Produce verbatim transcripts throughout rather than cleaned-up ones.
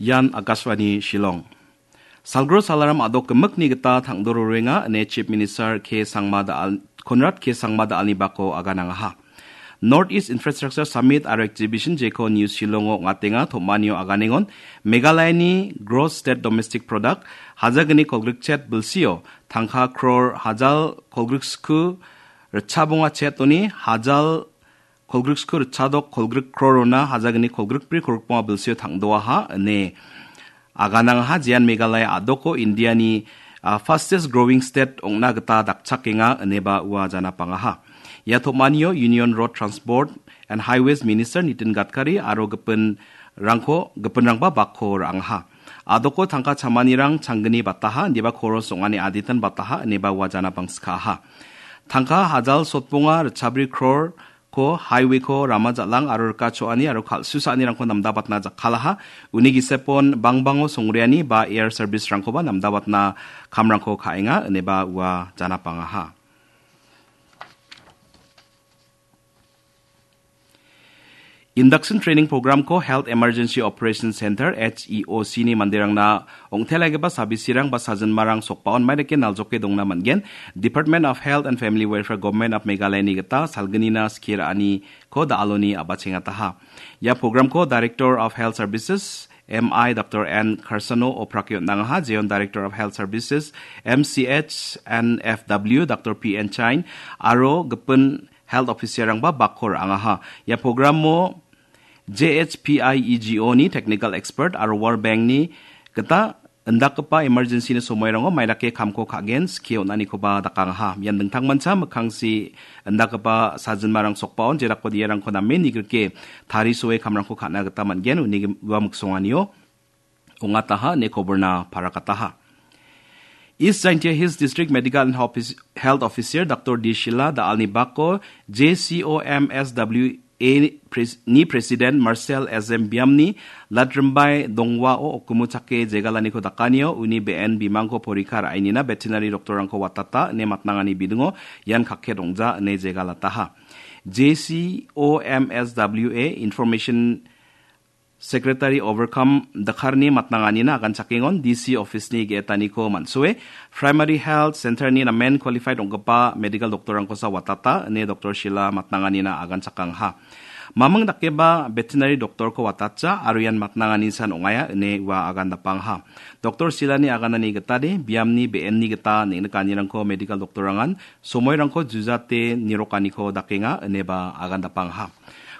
Ian Akashvani Shillong. Salgro salaram a·dok gimikni gita tangdororenga ine Chief Minister K Sangma Daal-, Conrad K Sangma Daalni bako aganangaha. North East Infrastructure Summit aro Exhibition jeko New Shillongo ong·atenga, tom·anio aganengon Meghalayani Gross State Domestic Product hajagni kolgrikchet bilsio tangka crore hajal kolgriksku ritchabonga chetoni hajal kolgriksku ritchadok kolgrik crore-ona hajagni kolgrikbri kolgrikbonga bilsio tangdoaha ine aganangaha, jean Meghalaya a·doko Indiani, ah, fastest growing state ong·na gita dakchakenga ineba ua janapangaha. Ia tom·anio Union Road Transport and Highways Minister Nitin Gadkari aro gipinrangko, gipinrangba bakko ra·angaha. A·doko tangka chamanirang changgni bataha, indiba koros ong·ani aditan bataha ineba ua janapangskaaha. Tangka hajal sotbonga ritchabri crore ko highway-ko rama jal·ang aro rika cho·ani aro kal·susaanirangko namdabatna jakkalaha. Uni gisepon bangbango songreani ba air service-rangkoba namdabatna kamrangko ka·enga ineba ua janapangaha. Induction Training Program-ko Health Emergency Operation Center, H E O C-ni manderangna ong·telaigipa sabisirang ba sajinmarang sokbaon maidake naljoke dongna man·gen. Department of Health and Family Welfare, Government of Meghalaya-ni gita salgnina skie ra·aniko da·aloni a·bachengataha. Ia program-ko Director of Health Services, M I Doctor N Karsano oprake on·angaha, jeon Director of Health Services, M C H and F W, Doctor P N Chain, aro gipin health officer-rangba bakko ra·angaha. Ia program-o J H P I E G O-ni technical expert aro World Bank-ni gita indakgipa emergency-ni somoirango maidake kamko ka·gen skie on·anikoba dakangaha. Ian dingtangmancha mikkangsi indakgipa sajinmarang sokbaon jedakode iarangko name nigrike tarisoe kamrangko ka·na gita man·gen, uni ua miksonganio ong·ataha ine koborna parakataha. East Jaintia Hills District Medical and Office-, Health Officer Doctor D Shila da·alni bako J C O M S W A pres-, ni President Marcel S M Biamni Latrimbai Dongwao okumu chake jegalaniko dakanio uni be·en bimangko porikha ra·enina veterinary doctor-rangko watata ine matnangani bidingo ian kakket ong·ja ine jegalataha. J C O M S W A Information Secretary Overcome Dakharni matnanganina aganchakengon D C office-ni ge·etaniko man·soe, Primary Health Center-ni namen qualified ong·gipa medical doctor-rangkosa watata ine Doctor Shila matnanganina aganchakangaha. Maming dakeba veterinary doctor-ko watatja aro ian matnangani san ong·aia ine ua agan dapangha. Doctor Shilani aganani gitade biamni be·enni gita neng·nikanirangko medical doctor-rangan somoirangko jujate nirokaniko dakenga ineba agan dapangha.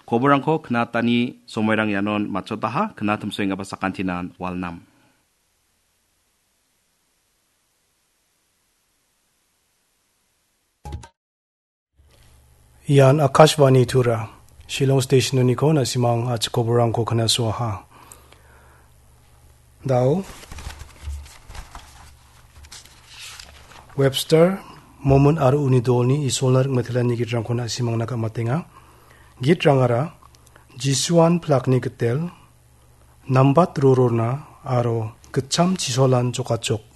Koborrangko knatani somoirang ianon matchotaha, knatimsoenggipa sakantinan walnam. Ian Akashvani Tura, Shillong Station-oniko na·simang a·chik koborrangko knasoaha. Da·o Webster, Momon aro uni dolni Isolna ring·metelani gitrangko na·simangna gam·atenga. Gitrangara Jisuan plakni gitel, nambat rororna aro gitcham chisolan jokachok.